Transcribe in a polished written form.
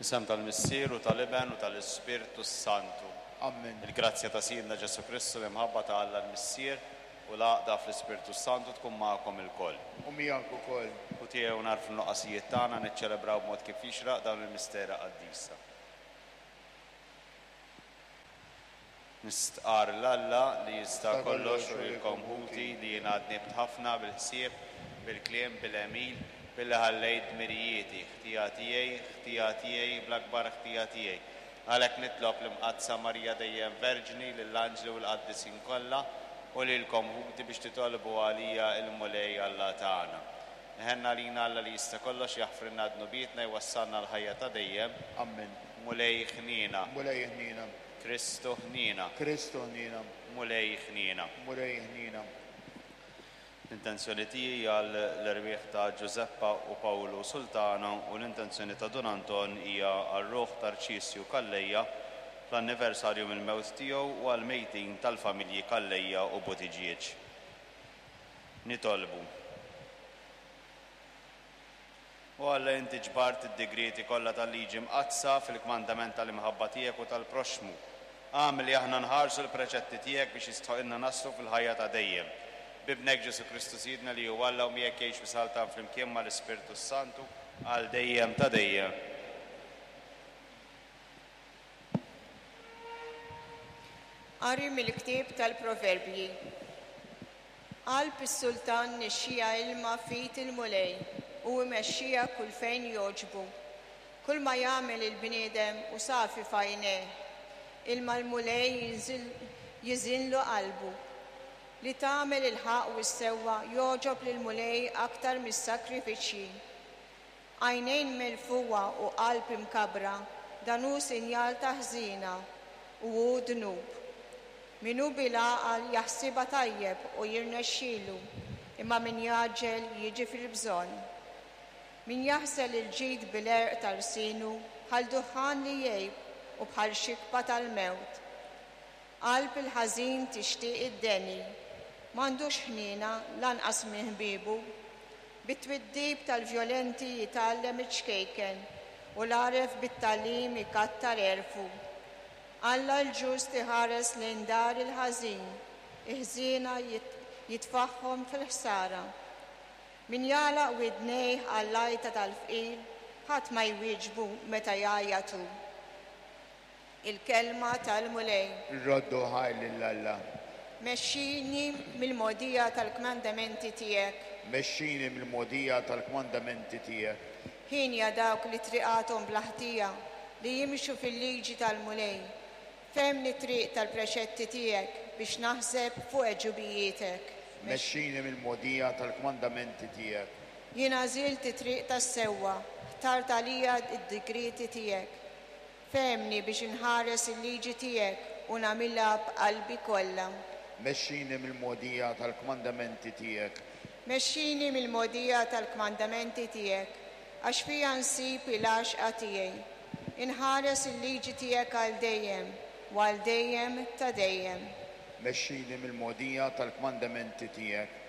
Fl-isem tal-Missier u tal-Iben u tal-Ispirtu s-Santu. Amen. Il-grazzja ta' Sidna Ġesù Kristu, l-imħabba ta' Alla l-Missier u l-għaqda fl-Ispirtu s-Santu tkun magħkom ilkoll. U miegħek ukoll. U tiegħu nagħrfu n-nuqqasijiet tagħna niċċelebraw b'mod kif jixraq dawn il-misteri qaddisa. Nistqarr 'l Alla li jista' kollox u lilkom ħuti li jiena dnibt ħafna bil-ħsieb, bil-kliem, bil-għemil, billi ħallejt dmirijieti, ħtija tiegħi, ħtija tiegħi, bl-akbar ħtija tiegħi. Għalhekk nitlob l-Imqaddsa Marija dejjem Verġni, lill-anġli u l-qaddisin kollha, u lilkom ħuti biex titolbu għalija il-Mulej Alla tagħna. Iħenn għalina Alla li jista' kollox, jaħfrilna dnubietna, jwassalna għall-ħajja ta' dejjem. Ammen. Mulej ħniena. Mulej ħniena. Kristu ħniena. Kristu ħniena. Mulej ħniena. Mulej ħniena. L-intenzjoni tiegħi hija għall-erwieħ ta' Ġużeppa u Pawlu Sultana u l-intenzjoni ta' Dun Anton hija għar-ruħ ta' Arċisju Calleja fl-anniversarju mill-mewt tiegħu u għall-mejtin tal-familji Calleja u Buttigieg. Nitolbu. O Alla, inti ġbart id-digrieti kollha tal-Liġi Mqaddsa fil-kmandament tal-imħabba tiegħek u tal-proxxmu. Agħmel li aħna nħarsu l-preċetti tiegħek biex jistħoqilna naslu fil-ħajja ta' dejjem. B'Ibnek Ġesù Kristu Sidna li hu Alla u miegħek jgħix u jsaltan flimkien mal-Ispirtu s-Santu għal dejjem ta' dejjem. Qari mill-ktieb tal-Proverbji. Qalb is-sultan nixxiha ilma f'id il-Mulej, u imexxiha kull fejn jogħġbu. Kulma jagħmel il-bniedem hu safi f'għajnejh, ilma l-Mulej jiżinlu qalbu. Li tagħmel il-ħaqq u s-sewwa jogħġob lill-Mulej aktar mis-sagrifiċċji. Għajnejn merfugħa u qalb imkabbra, dan hu sinjal ta' ħżiena, u hu dnub. Min hu bil-għaqal jaħsibha tajjeb u jirnexxilu, imma min jgħaġġel jiġi fil-bżonn. Min jaħsel il-ġid bil-għerq ta' lsienu bħal duħħan li jgħib u bħal xikba tal-mewt. Qalb il-ħażin tixtieq id-deni, m'għandux ħniena lanqas minn ħbiebu. Bit-twiddib tal-vjolenti jitgħallem iċ-ċkejken, u l-għaref bit-tagħlim ikattar għerfu. Alla l-ġust iħares lejn dar il-ħażin, il-ħżiena jitfagħhom fil-ħsara. Min jagħlaq widnejh għall-għajta tal-fqir, ħadd ma jwieġbu meta jgħajjat hu. Il-Kelma tal-Mulej. Irroddu ħajr lil Alla. Mexxini mill-mogħdija tal-kmandamenti tiegħek. Mexxini mill-mogħdija tal-kmandamenti tiegħek. Hienja dawk li triqathom bla ħtija, li jimxu fil-liġi tal-Mulej. Fehmni t-triq tal-preċetti tiegħek biex naħseb fuq għeġubijietek. Mexxini mill-mogħdija tal-kmandamenti tiegħek. Jien għażilt it-triq tas-sewwa, ħtart għalija d-digrieti tiegħek. Fehmni biex inħares il-liġi tiegħek u nagħmilha b'qalbi kollha. Mexxini mill-mogħdija tal-kmandamenti tiegħek. Mexxini mill-mogħdija tal-kmandamenti tiegħek, għax fiha nsib il-għaxqa tiegħi. Inħares il-liġi tiegħek għal dejjem u għal dejjem ta' dejjem. Mexxini mill-mogħdija tal-kmandamenti tiegħek.